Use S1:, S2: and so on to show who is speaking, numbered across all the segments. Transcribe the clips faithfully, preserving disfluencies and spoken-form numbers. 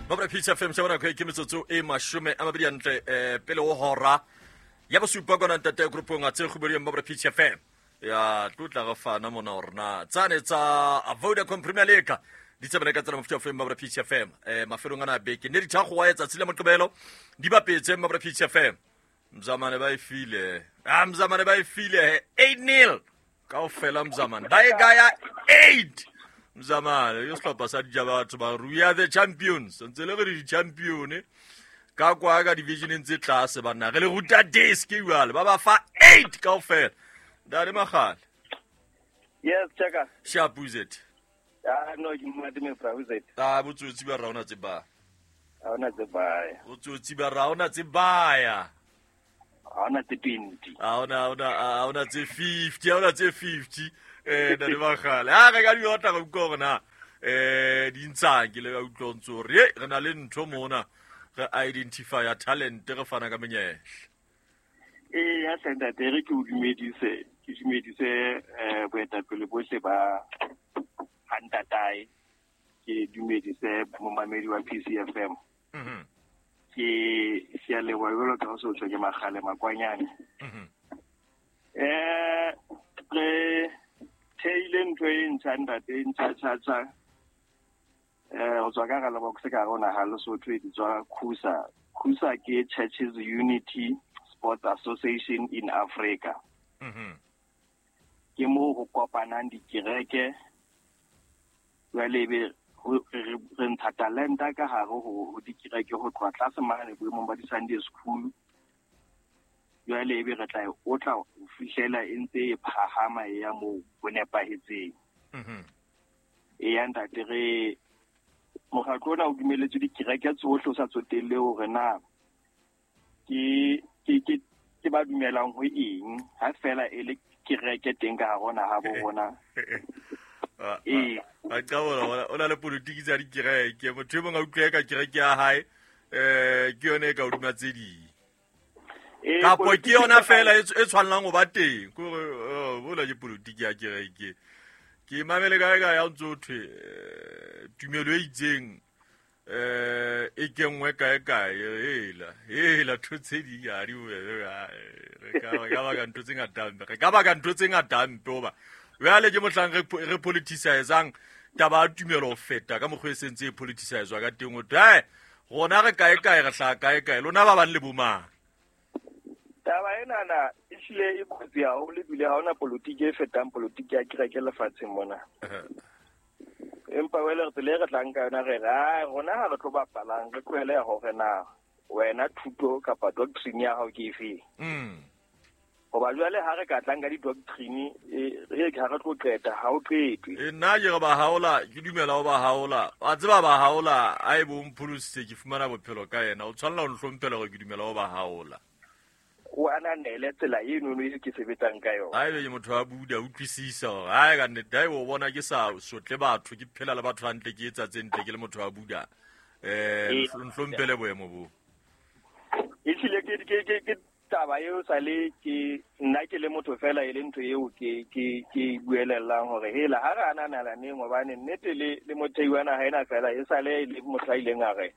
S1: Mabra P C F M shabana ke metsotso e mashome a mabedi hantle eh pele ho hora ya bosupa kona ntate groupong a tse kgubedi Mabra P C F M ya tlotla re fana mona hore na tsane tsa Vodacom Premier League di tsebele ka tsela mofuta F M Mabra P C F M eh mafelong ana beke ne di tha go wa etsa tsile moqebelo di bapetse Mabra P C F M mzamane ba e file ah mzamane ba e file eight nil kaofela mzamane ba e gaya eight mzamane yo sehlopha sa dija batho ba we are the champions ntse le re di champion ka kwa ka division tse tlase banna re le ruta desk jwale ba ba fa eight kaofela dale magale.
S2: Yes cheka
S1: sharp is it
S2: ah no ke mate me fra is it
S1: ah botsotsi ba raona tse ba
S2: ha ona tse ba
S1: botsotsi ba raona tse ba ya
S2: ha ona tse twenty
S1: ha ona ha ona tse fifty ha ona tse fifty eh dale magale ha re ka di otla go utlwa hore na eh di ntshang ke le ka utlwa ntse hore re na le ntho mona re identify talent re fana ka menyetla.
S2: Eh ya ntate re ke o dumedise ke dumedise eh boetapele bohle ba Ntatae ke dumedise momamedi wa P C F M.
S1: Mhm.
S2: Ke sia le wa jwalo ka so tswe ke Magale Makwanyane.
S1: Mhm.
S2: Eh re theile ntho e ntjha ntate ntjha tjha tjha eh o tswa ka ga box ka rona ha Lesotho e tswa Khusa. Khusa ke Churches Unity Sports Association in Africa.
S1: Mhm.
S2: Ke mo ho kopanang dikereke jwale be re ntsha talenta ka hare ho dikereke ho tloha tlase mane boemong ba di-Sunday school. Jwale ebe re tla o tla ho fihlela e ntse e phahama e ya moo ho nepahetseng.
S1: Mhm.
S2: E ya ntate re mokgatlo ona o dumeletswe dikereke tsohle o sa tsotelle hore na ke ke ke ke ba dumelang ho eng ha fela e le kereke teng ka hare ho naha bo rona.
S1: Eh a qala o na le politiki tsa dikereke motho e mong a utlwe ka kereke ya hae eh ke yone e ka hodima tse ding. Kapo ke yona fela e tshwanlang ho ba teng kore bola ke politiki ya kereke ke mamele kae ka ya ntse ho thwe tumelo e itseng eh e kengwe kae kae hela hela ntho tse ding ha di re ka re ka baka ntho tse ngata mpe re ka baka ntho tse ngata mpe hoba jwale ke mohlang re re politicizang taba ya tumelo ho feta ka mokgwa e sentse e politicizwa ka teng ho thwe rona re kae kae re hlaha kae kae lona ba bang le bomang.
S2: Taba enana e hlile e kotsi haholo ebile ha hona politiki e fetang politiki ya kereke lefatsheng mona. Empa wele re tsela e re tlang ka yona re re ai rona ha re tlo bapalang re tlohele hore na wena thuto kapa doctrine ya hao ke efe.
S1: Mm.
S2: Hoba jwale ha re ka tlang ka di-doctrine e ha re tlo qeta ha o qetwe.
S1: E nna ke re ba haola ke dumela ho ba haola wa tseba ba haola a e bo mpholositse ke fumana bophelo ka yena o tshwanela ho nhlomphela hore ke dumela ho ba haola.
S2: O ananele tsela eno no e ke sebetsang ka yona.
S1: Haebe ke motho wa Buddha utlwisisa hore hae ka nnete haebe o bona ke sa sotle batho ke phela le batho hantle ke etsa tse ntle ke le motho wa Buddha eh nhlomphele boemo bo.
S2: E hlile ke ke ke ke taba eo sale ke nna ke le motho fela e le ntho eo ke ke ke buelellang hore hela ha re ananelaneng hobane nnete le le mothei wa naha ena fela e sale le motho a ileng a re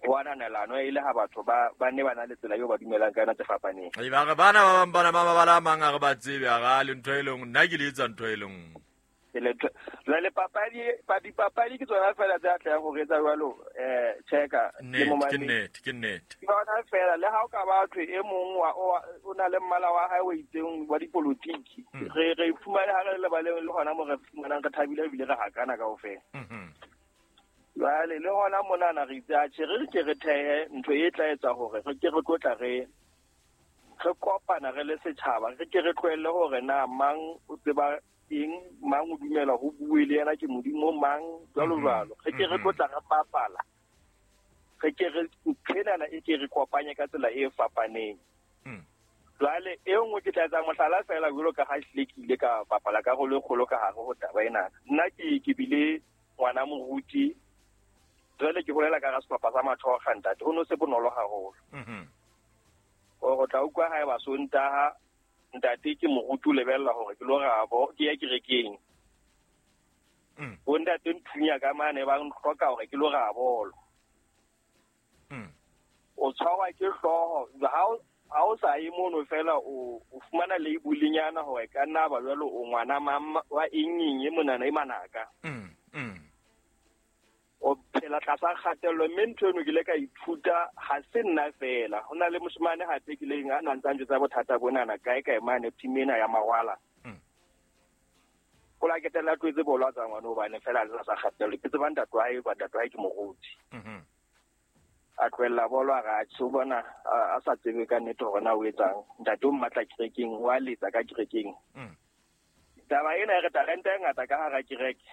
S2: ho ananelano e le ha batho ba ba ne ba na le tsela eo ba dumelang ka yona tse fapaneng.
S1: Ai ba re bana ba bang bana ba ba la mang a re ba tsebe a ra le ntho e leng nna ke le etsa ntho e leng.
S2: Jwale papadi dipapadi ke tsona fela tse atlehang ho etsa jwalo eh cheka le
S1: momamedi. Ke nnete ke nnete.
S2: Ke yona fela le ha o ka ba thwe e mong wa o na le mmala wa hae o itseng wa dipolotiki re re fumane ha re le lebaleng le hona mo re fumanang re thabile ebile re hakana kaofela.
S1: Mhm.
S2: Jwale le hona monana re itse atjhe re ke re thehe ntho e tla etsa hore re ke re tlotla re re kopana re le setjhaba re ke re tlohelle hore na mang o tseba eng mang o dumela ho bue le yena ke modimo mang jwalo jwalo re ke re tlotla re bapala re ke re thenana e ke re kopanye ka tsela e fapaneng. Jwale e nngwe ke tla etsa mohlala fela jwalo ka ha hlile ke ile ka bapala karolo e kgolo ka hare ho taba ena. Nna ke ke bile ngwana moruti jwale ke holela ka sehlopha sa Mathoga ntate ho no se bonolo haholo.
S1: Mhm.
S2: O tla utlwa hae ba Sontaha ntate ke moruti o lebella hore ke lo rabo ke ya kerekeng.
S1: Mm.
S2: Bo ntate nthunya ka mane ba ntlhoka hore ke lo rabolo. O tshwarwa ke hlooho ha ha o sa ye mono fela o o fumana label-nyana hore ka nna ba jwalo o ngwana mang wa eng eng e monana e manaka. O phela tlasa kgatello, mme ntho eno ke ile ka ithuta ha se nna fela. Ho na le moshemane hape ke ileng a na ntse a njwetsa bothata bonana kae kae mane team ena ya Mawala. O la ketela tloetse bolo a tsa ngwana hobane fela a le tlasa kgatello. Ke tseba ntate wa hae, ba ntate wa hae ke moruti. A tlohella bolo a re atjhe o bona a sa tsebe ka nnete hore na o etsang. Ntate o mmatla kerekeng, wa letsa ka kerekeng. Taba ena e re talente e ngata ka hara kereke.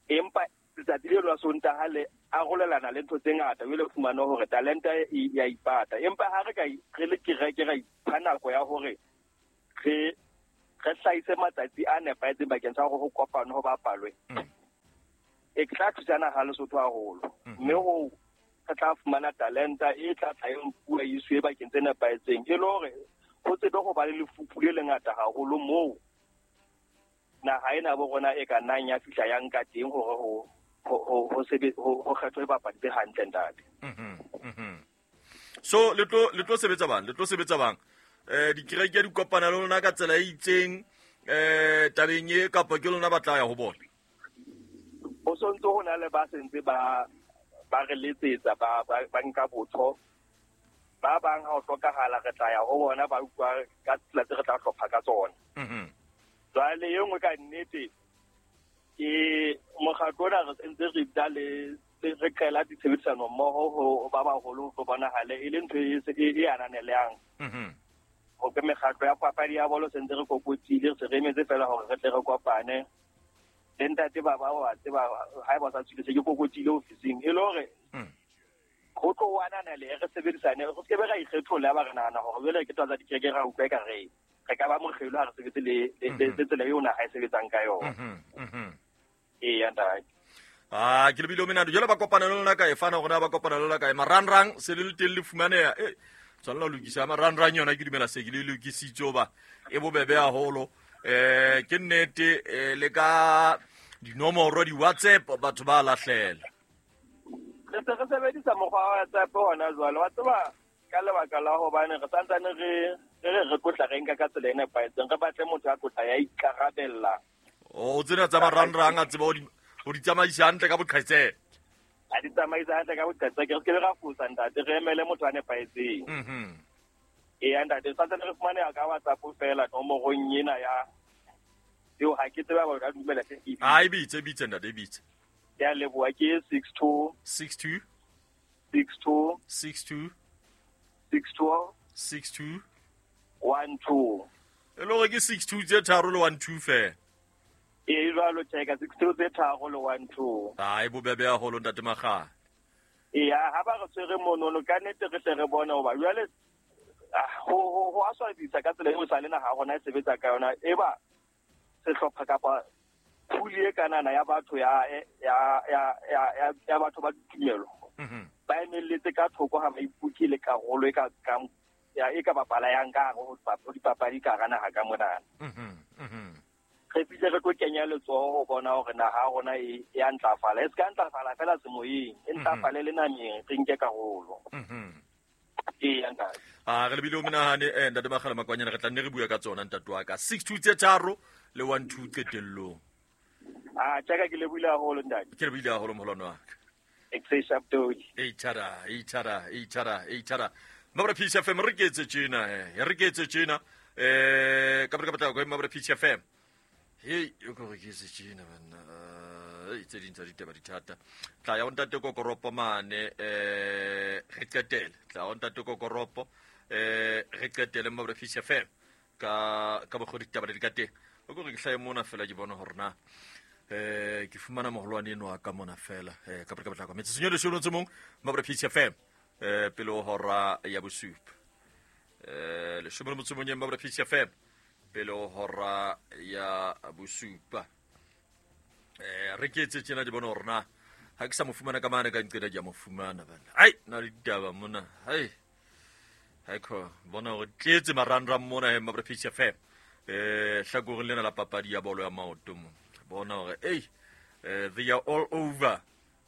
S2: Empa letsatsi leo la Sontaha le arolelana le ntho tse ngata, o ile fumana hore talente e ya ipata. Empa ha re ka re le kereke ra ipha nako ya hore re re hlahise matsatsi a nepahetseng bakeng sa hore ho kopane ho bapalwe. E tla thusana ha Lesotho haholo. Mme ho re tla fumana talenta e tla tla e nkuwa e iswe bakeng tse nepahetseng. E le hore ho tsebe ho ba le lefupu le lengata haholo moo naha ena bo rona e ka nnang ya fihla ya nka teng hore ho ho ho sebe ho kgethwe bapadi tse hantle ntate.
S1: So le tlo le tlo sebetsa bang le tlo sebetsa bang eh dikereke di kopana le lona ka tsela e itseng eh tabeng e kapa ke lona ba tla ya ho bona?
S2: Ho sontso ho na le ba sentse ba ba re letsetsa ba ba nka botho. Ba bang ha o hlokahala re tla ya ho bona ba utlwa ka tsela tse re tla hlopha ka tsona. Jwale e nngwe ka nnete ke mokgatlo ona re sentse re bitsa le re qela ditshebedisano mmoho ho ba baholo ho bonahale e le ntho e ananelehang. Ho ke mekgatlo ya papadi ya bolo sentse re kokotile, re se re emetse fela hore re tle re kopane. Le ntate ba ba wa tseba ha eba sa tswile se ke kokotile ofising e le hore ho tlo o ananele re sebedisane, re se ke be ra ikgetholla ba re nahana hore jwale ke tsa dikereke ra utlwa eka re re ka ba mokgelo ha re sebetse le le tsela eo naha e sebetsang ka yona. Eya ntate.
S1: Ah, ke lebile menando jwale ba kopana le lona kae fana hore na ba kopana le lona kae marangrang se le le teng le fumaneha eh tshwanela ho lokisa marangrang yona ke dumela se ke le lokisitse hoba e bobebe haholo. Eh ke nnete le ka dinomoro di WhatsApp batho ba lahlela.
S2: Re se re sebedisa mokgwa wa WhatsApp hona jwale wa tseba ka lebaka la hobane re santsane re re re tlotla re nka ka tsela e nepahetseng, re batle motho a tlotla ya ikarabella.
S1: O tsena tsa marangrang a tseba ho di tsamaisa hantle ka boqhetseke.
S2: A di tsamaisa hantle ka boqhetseke, re se ke ra fosa ntate, re emele motho a nepahetseng. Eya ntate, santsane re fumaneha ka WhatsApp fela nomorong ena ya eo ha ke tseba hore ka dumela se ke.
S1: Ah, e bitse, bitse ntate, e bitse.
S2: Ke a leboha, ke six two
S1: six two
S2: six two
S1: six two
S2: six two
S1: six two
S2: one two.
S1: E le hore ke six two tse tharo le one two fela.
S2: E jwalo tjeka six two tse tharo le one two.
S1: Ah, e bobebe haholo ntate Makgale.
S2: Eya, ha ba re tshwere monono ka nnete re tle re bone hoba jwale ho ho ho a swabisa ka tsela eo sa le naha rona e sebetsa ka yona. E ba sehlopha kapa phuli e kanana ya batho ya ya ya ya ya batho ba ditumelo ba emelletse ka thoko ha ba ipuke le karolo e ka ka ya e ka bapala yang ka hare ho dipapadi ka hara naha ka monana. Re fihle re tlo kenya letsoho ho bona hore naha rona e ya ntlafala, e se ka ntlafala fela semoyeng, e ntlafale le nameng, re nke karolo. Eya ntate.
S1: Ah, re lebile o menahane eh ntate Makgale Makwanyane, re tla nne re bua ka tsona ntate wa ka. six two tse tharo le one two qetellong.
S2: Ah, tjaka ke lebohile haholo ntate.
S1: Ke lebohile haholo moholwane wa ka.
S2: Eight
S1: thara, eight thara, eight thara, eight thara. Mabra Peace F M re ke etse tjena eh, re ke etse tjena eh ka ka batla go Mabra Peace F M. Hey, o ko re ke etse tjena banna. Eh tse ding tsa ditaba di thata. Tla ya o ntate Kokoropo mane eh re qetele. Tla o ntate Kokoropo eh re qetele Mabra Peace F M ka ka bokgodi ditaba di ka teng. O ko re ke hlae mona fela ke bona hore na eh ke fumana moholwane eno a ka mona fela eh ka ka batla ka metse senyole selo tse mong Mabra Peace F M eh pele ho hora ya bosupa eh leshome le motso o mong Mabra Peace F M pele ho hora ya bosupa eh re ke etse tjena di bona hore na ha ke sa mo fumana ka mane ka nqeda ke a mo fumana bana ai na le ditaba mona hai hai ko bona hore tletse marangrang mona he Mabra Peace F M eh hlakoreng lena la papadi ya bolo ya maoto mo bona hore ei they are all over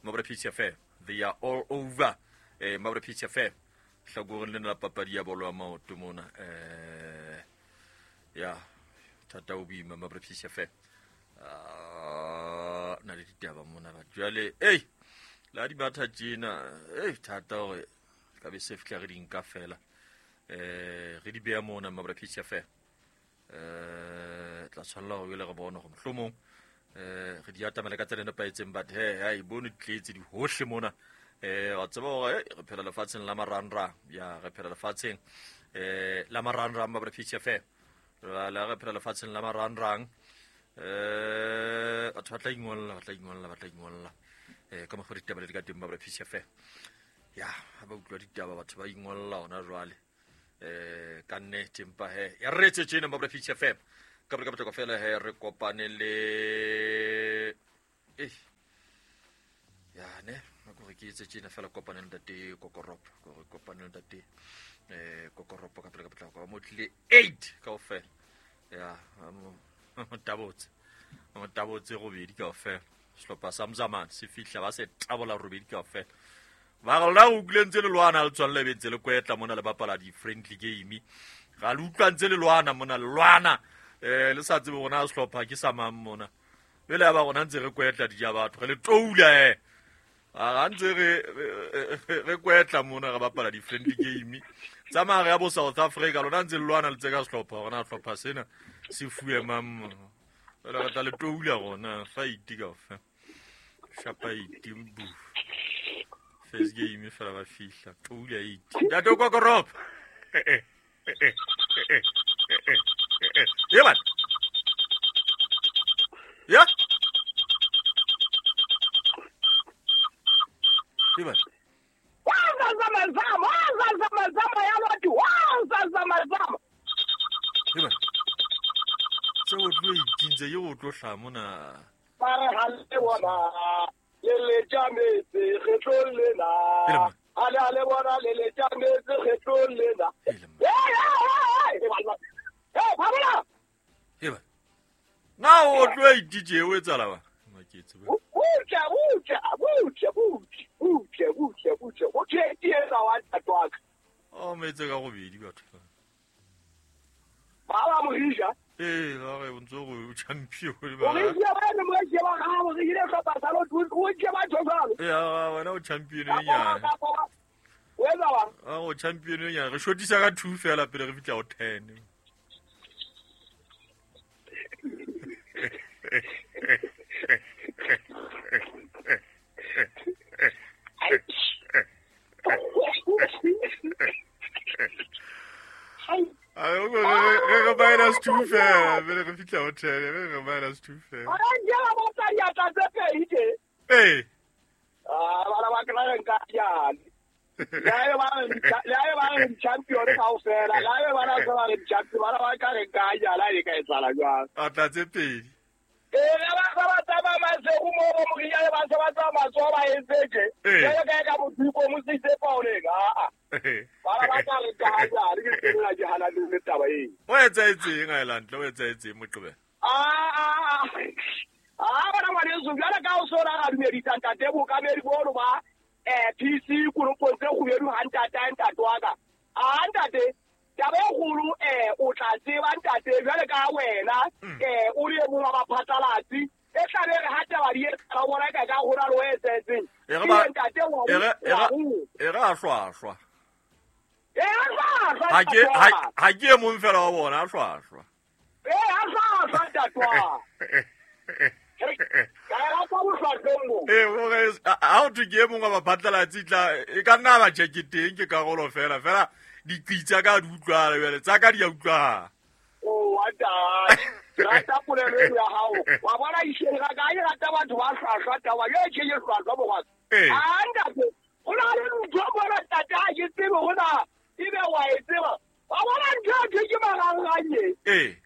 S1: Mabra Peace F M, they are all over eh Mabra P C F M hlakoreng lena la papadi ya bolo ya maoto mona eh ya thata o boima Mabra P C F M ah na le ditaba mona ba jwale ei la di batha tjena ei thata hore ka be se fihla re di nka fela eh re di beya mona Mabra P C F M eh tla tshwanela hore le re bone hore mohlomong eh re di atamela ka tsela e nepahetseng but he ha e bone ditletse di hohle mona eh wa tseba hore re phela lefatsheng la marangrang ya re phela lefatsheng eh la marangrang Mabra P C F M la re phela lefatsheng la marangrang eh batho ba tla ingolla ba tla ingolla ba tla ingolla eh ka mokgwa ditaba le di ka teng Mabra P C F M ya ha ba utlwa ditaba batho ba ingolla hona jwale eh ka nnete empa he ya re etse tjena Mabra P C F M ka ka botlako fela he re kopane le eh ya ne gore ke etse tjena fela kopane le ntate Kokoropo gore kopane le ntate eh Kokoropo ka pele ka potlako mo tlile eight kaofela ya mo tabotse mo tabotse robedi kaofela sehlopha sa Mzamane se fihla ba se tabola robedi kaofela ba re lona o utlwile ntse le lwana le tswalle bentse le kwetla mona le bapala di-friendly game ga le utlwa ntse le lwana mona le lwana eh le sa tsebe rona sehlopha ke sa mang mona pele ya ba rona ntse re kwetla di ja batho re le toula eh a ntse re re kwetla mona re bapala di-friendly game tsa mare ya bo South Africa lona ntse le lwana le tse ka sehlopha rona sehlopha sena se fuwe mang mona re tla le toula rona fight kaofela shapa eight bu first game fela ba fihla toula eight ntate Kokoropo eh eh eh eh eh eh eh man ya Ivan
S2: waza zama zama waza zama zama ya loti waza zama zama
S1: Ivan so o tlo itintse yo o tlo hla mona
S2: ba re ha le bona le le tjametse kgetlong lena ha le le bona le le tjametse kgetlong lena eh phabela
S1: Ivan na o tlo itije o etsala ba maketse ba
S2: butle butle butle butle butle butle butle o tshetietsa wa ntatwaka
S1: o metse ka gobedi batho
S2: ba ba morisha
S1: eh ba re o ntse go champion ba
S2: morisha ba ne morisha ba ga mo re ile hlopha sa lo o tje ba tjhokalo
S1: ya wena o champion e nyane
S2: o etsa ba
S1: a o champion e nyane re shotisa ka two fela pele re fitla go ten Re minus two fela pele re fihla ho ten re re minus two fela
S2: a nje ba botsa diatla tse pedi tje
S1: eh
S2: ah bana ba kla re nka jane la e ba la e ba re champion kaofela la e ba na se ba re champion bana ba ka re nka jala e ka etsala jwang
S1: atla tse pedi
S2: eh ba ba ba tsamaya masego mo bo moria ba se ba tsamaya matsoho ba entse tje jalo ka ka modiko mo sitse paoleng a a bana ba ka re ka jale ke tsena ke hana le taba eo
S1: o etsaetseng Island o etsaetseng Moqebelo
S2: a a a bana ngwaneso jwale ka o sona ga dumedisa ntate bokamedi bono ba eh P C koropong tse kgubedu ha ntate a ntate wa ka a ntate taba e kgolo eh o tla tseba ntate jwale ka wena eh o le mong wa baphatlalatsi e tlabe re ha taba di etsa bona ka ka hona le o etsetseng ntate wa
S1: e re a hlwahlwa
S2: e a hlwahlwa
S1: ha ke ha ke e mong fela wa bona a hlwahlwa
S2: e a hlwahlwa ntate wa ka rata bohlwahlweng bo
S1: eh gore ha o thwe ke e mong wa baphatlalatsi tla e ka nna ba tjeke teng ke karolo fela fela diqitsa ka di utlwala jwale tsa ka di a utlwala
S2: o wa ntate rata polelo eo ya hao wa bona isheng ga ka e rata batho ba hlwahlwa taba ye ke ye hlwahlwa bogwaka a ntate go na le ntho bona ntate ha ke tsebe gona ebe wa e tseba wa bona ntho e ke marangrang
S1: ee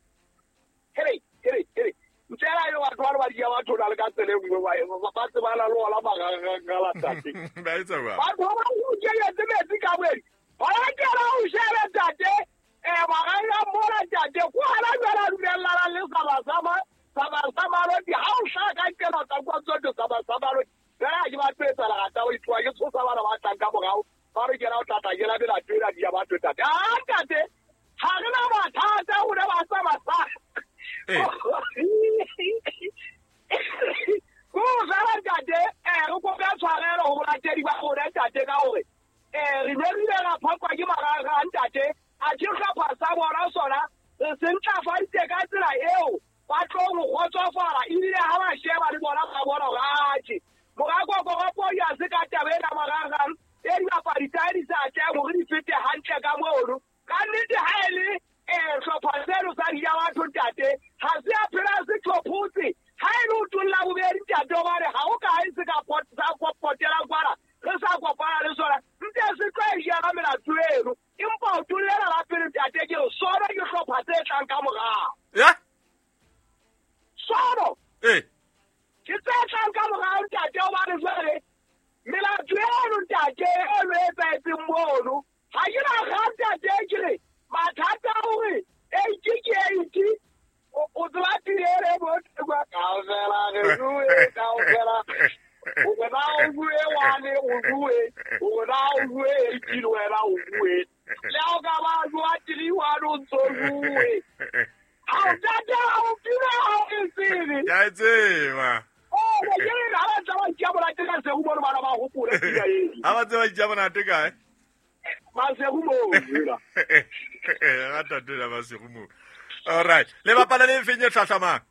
S2: here here here ntsela yo batho ba ba di ya batho na le ka tsele nngwe ba ba tsebana le ona marangrang la ntate
S1: ba etsa jwang
S2: batho ba o kenyetse metsi ka boedi ba kena o shebe ntate eh marangrang mona ntate ko hana jwale a dumellana le Sabasaba Sabasaba lo di ha o hlaka nkela tsa kwa tsoto Sabasaba lo fela ke ba tlo etsa lerata o itloa ke tshosa bana ba tlang ka morao ba re kena o tla tla jela melato ena di ya batho ntate. Ah ntate, ha re na mathata rona ba sa masa. Ko fela ntate, eh re kopa tshwarelo ho balatedi ba rona ntate ka hore eh re ne re ile ra phokwa ke marangrang ntate, a ke hlopha sa bona sona re se ntlafaditse ka tsela eo ba tlo go kgotsofala ebile ha ba sheba le bona ba bona hore atjhe Morakokoropo ya se ka taba ena marangrang e dibapadi tsa di sa tlang hore di fete hantle ka mono. Ka nnete ha e le eh hlopha seno sa di ya batho ntate, ha se a phela se tlhophotse ha e le o tolla bobedi ntate hobane ha o kae se ka sa potela kwana re sa kopana le sona ntse se tlo e jara melato eno empa o tollela la pele ntate ke re sona ke hlopha tse tlang ka morao.
S1: Ya
S2: sono
S1: eh
S2: ke tse tlang ka morao ntate hobane jwale melato eno ntate e lo etsahetseng mono ha ke na kgang ntate ke re mathata a hore eighty ke eighty o tseba tirele bo kaofela re bue kaofela o bona o bue one o bue o bona o bue eighty le wena o bue le ha o ka ba jwa three one o ntso bue ha o ntate ha o pina ha o e tsebe
S1: ke a e tseba.
S2: Oh ke re ha ba tsa ba ntša monate ka sego mono bana ba hopole pina eo.
S1: Ha ba tseba ntša monate kae?
S2: Masego moo jela.
S1: Ga tate la masego moo. All right. Le bapala le feng e hlahlamang?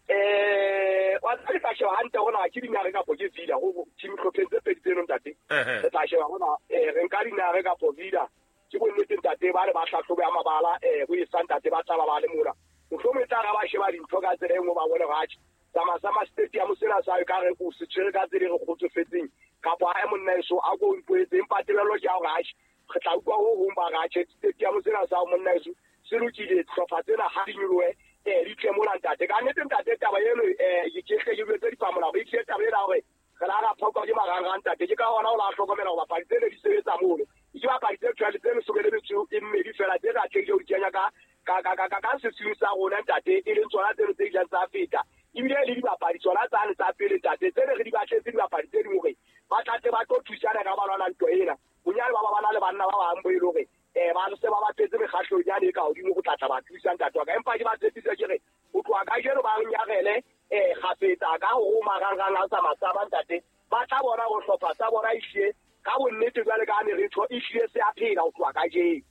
S2: Eh, wa tseba tla sheba hantle hona ke dinare kapo ke Vida go team hlopheng tse pedi tseno ntate. Re tla sheba hona eh re nka dinare kapo Vida. Ke bonnete ntate ba re ba hlahlobe ya mabala eh bo e sa ntate ba tla ba ba le mona. Mohlomong e tla ra ba sheba dintho ka tsela e nngwe ba bone hore atjhe sama sama stadium sena sa ka re o se tshwere ka tsela e re kgotsofetseng kapa ha monna eso a ko mpoetse empa tebello ke ya hore atjhe re tla utlwa ho hong ba re atjhe stadium sena sa monna eso se lokile hlopha tsena ha di nyolohe eh di tle mona ntate. Ka nnete ntate taba eno eh ke hle ke jwetse dipamolao e tlile taba ena hore re la ra phokwa ke marangrang ntate. Ke ka hona o la hlokomela hore bapadi tsene di sebetsa mono ke bapadi tse twelve tse leshome le metso e mmedi fela tse re atlehile ho di kenya ka ka ka ka ka sesiung sa rona ntate e leng tsona tseno tse ileng tsa feta ebile le dibapadi tsona tsane tsa pele ntate tse ne re di batletse dibapadi tse ding hore ba tla tle ba tlo thusana ka ba lwana ntwa ena bonyane ba ba bana le banna ba bang bo e le hore eh ba se ba ba tletse mekgahlong yane e ka hodimo go tlatla ba thusa ntate wa ka empa ke ba tshepisa ke re ho tloha kajeno ba nyarele eh kgafetsa ka ho marangrang a sa masaba ntate ba tla bona ho hlopha sa bona ehlile ka bonnete jwale ka ne re tho ehlile se a phela ho tloha kajeno.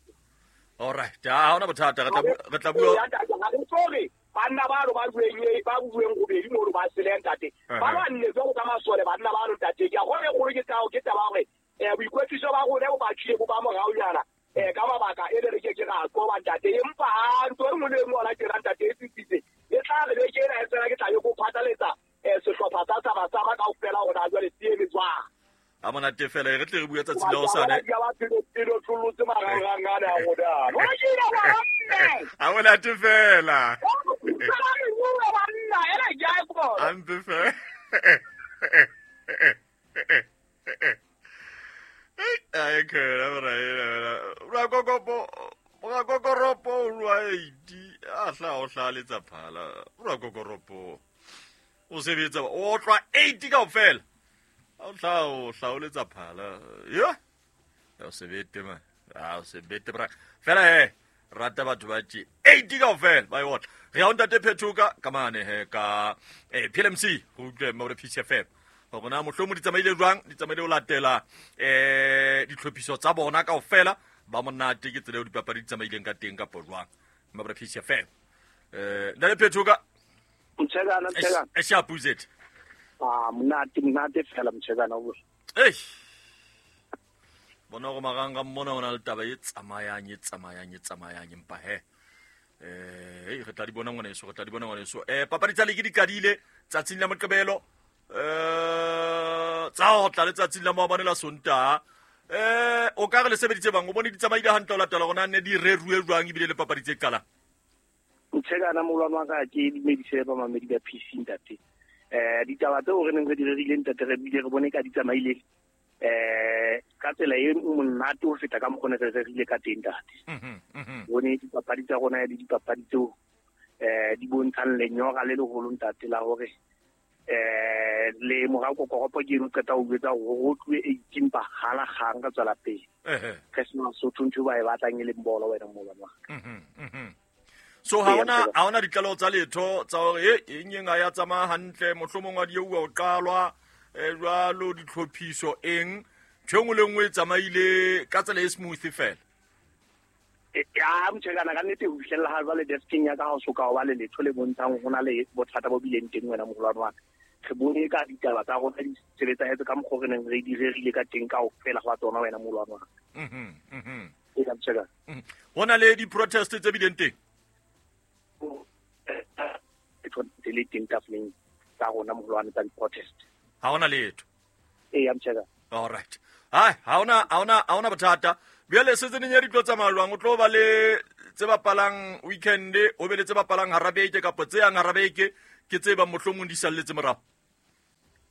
S1: All right, ha hona bothata re tla re tla bua
S2: sorry banna ba ro ba bueng ba bueng gobedi mo ba sele ntate ba lwanne jwalo ka masole banna ba ro ntate ke a gone gore ke tao ke taba hore eh boikwetliso ba rona bo ba tshile bo ba moraonyana eh ka mabaka e le re ke ke ra qoba ntate empa ntho e nngwe le e nngwe ona ke ra ntate e tsitsitse e tla re beke ena e tsena ke tla yo go phatlaletsa eh sehlopha sa sa basama kaofela hore na jwale se eme jwang.
S1: A monate fela re tle re bue tsatsing la hosane. A monate fela. Ampe fela. Ai ke la bra ra gogopo ra gogoropo rwa eighty a hla o hlaletsa phala ra gogoropo o sebetsa o tlwa eighty kaofela o tla o hlaoletsa phala yo o sebete ma a o sebete bra fela he rata batho ba tje eighty kaofela ba e otla re ya ntate Phethoka ka mane he ka eh P L M C go utlwe mo re P C F M hore na mohlomo di tsamaile jwang di tsamaile ho latela eh ditlhophiso tsa bona kaofela ba monate ke tsela eo dipapadi di tsamaileng ka teng kapo jwang mo re P C F M eh ntate Phethoka
S2: Mtshekana Mtshekana
S1: e sharp uzet
S2: ah monate monate fela Mtshekana o
S1: eh bona go maranga mmona ona le taba e tsamayang e tsamayang e tsamayang empa he eh re tla di bona ngwaneso re tla di bona ngwaneso eh papadi tsa ligi di qadile tsatsing la Moqebelo eh tsa ho tla letsatsing la maobane la Sontaha eh o ka re le sebeditse bang o bone di tsamaile hantle o latela rona ne di reruwe jwang ebile le papadi tse qalang
S2: Mtshekana molwana wa ka ke dumedise ba mamedi ba P C ntate eh ditaba tseo re neng re di rerile ntate re bile re bone ka di tsamaile eh ka tsela e monate ho feta ka mokgwa re rerile ka teng ntate.
S1: Mhm mhm
S2: Bone dipapadi tsa rona le dipapadi tseo eh di bontshang lenyora le leholo ntate la hore
S3: Eh le morao kokoropo ke eno qeta ho jwetsa hore ho tluwe eighteen ba hala kgang ka tswela pele. Re sena Sotho ntho ba e batlang e leng bolo wena molwane wa ka.
S1: Mhm mhm. So ha ona ha ona ditlaleho tsa letho tsa hore e eng eng ha ya tsamaya hantle, mohlomong wa di ua o qalwa jwalo ditlhophiso eng, ntho e nngwe le nngwe e tsamaile ka tsela e smooth fela.
S3: Ya motjhekana ka nnete ho fihlella ha jwale deskeng ya ka ha o soka ho ba le letho le bontshang ho na le bothata bo bileng teng wena moholwane wa ka. Re bone ka ditaba tsa rona di sebetsahetse ka mokgwa re neng re di rerile ka teng kaofela hwa tsona wena moholwane wa ka.
S1: Mhm mhm.
S3: E ka motjhekana.
S1: Ho na le di-protest tse bileng teng?
S3: Tse le teng tafoleng tsa rona moholwane tsa di-protest.
S1: Ha hona letho.
S3: Ee, ya motjhekana.
S1: All right. Hai, ha hona ha hona ha hona bothata. Bjale season ya ditlo tsa malwang o tlo ba le tse bapalang weekend, o be le tse bapalang hara beke kapa tse yang hara beke ke tse ba mohlomong di salletse morao.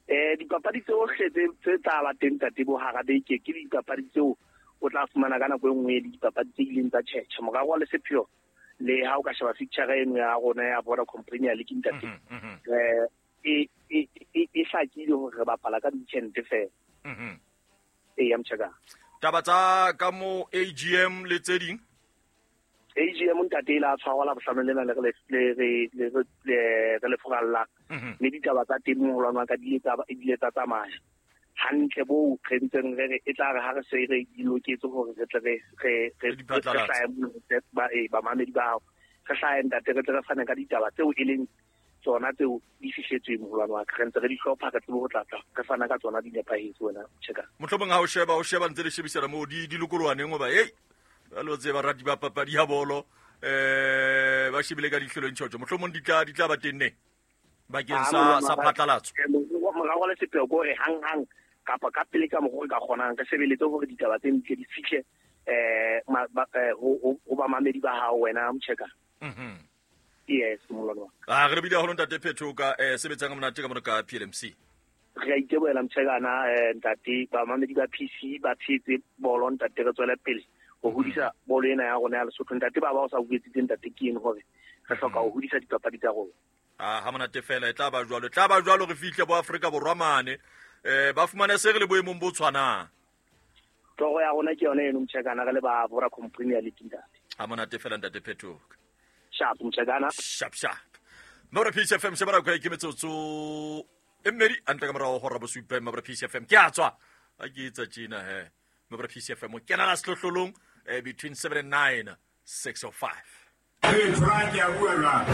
S3: Eh dipapadi tsohle tse tse tla ba teng ntate bo hara beke ke dipapadi tseo o tla fumana ka nako e nngwe le dipapadi tse ileng tsa tjhetjha morao wa le sepheo le ha o ka sheba fixture eno ya rona ya Vodacom Premier League ntate. Eh e e e hlakile hore re bapala ka weekend fela.
S1: Mhm.
S3: E ya mtjhaka.
S1: Taba tsa ka mo A G M le tse ding?
S3: A G M ntate e la tshwarwa la bohlano lena le re le re le re le furalla. Mme ditaba tsa teng moholwane wa ka di ile tsa di ile tsa tsamaya hantle bo re ntseng re re e tla re ha re se re di loketse hore re tle re re re hlahe ba e ba mamedi ba hao re hlahe ntate re tle re fane ka ditaba tseo e leng tsona tseo di fihletsweng moholwane wa ka re ntse re di hlopha re tsebe ho tla tla re fana ka tsona di nepahetse wena tjheka.
S1: Mohlomong ha o sheba o sheba ntse le shebisana moo di di lokolohaneng hoba hey ba lo tseba rati ba papadi ya bolo eh ba shebile ka dihlelong tjotjo mohlomong di tla di tla ba teng ne bakeng sa sa phatlalatso.
S3: Morao le sepheo ko re hang hang kapa ka pele ka mokgwa ka kgonang re sebeletse hore ditaba tse ntle di fihle eh ho ba mamedi ba hao wena mtjheka.
S1: Mhm.
S3: Yes, molwana wa
S1: ka. Ah re bile haholo ntate Phetho ka eh sebetsang monate ka mona ka P L M C.
S3: Re a itebohela mtjhekana eh ntate ba mamedi ba P C ba tshetse bolo ntate re tswele pele ho hodisa bolo ena ya rona ya Lesotho ntate ba ba o sa buetsitseng ntate ke eng hore re hloka ho hodisa dipapadi tsa rona.
S1: Ah ha monate fela e tla ba jwalo tla ba jwalo re fihle bo Afrika Borwa mane eh ba fumane se re le boemong bo tshwanang.
S3: Toro ya rona ke yona eno mtjhekana re le ba Vodacom Premier League ntate.
S1: Ha monate fela ntate Phetho.
S3: Sharp mtjhekana.
S1: Sharp sharp. Mabra P C F M shebara kwa ke metsotso e mmedi antle ka morao hora bosupa Mabra P C F M ke a tswa a ke etsa tjena he Mabra P C F M o kena la sehlohlolong between seven and nine six oh five.
S4: Hey, Frank, ya bua jwang?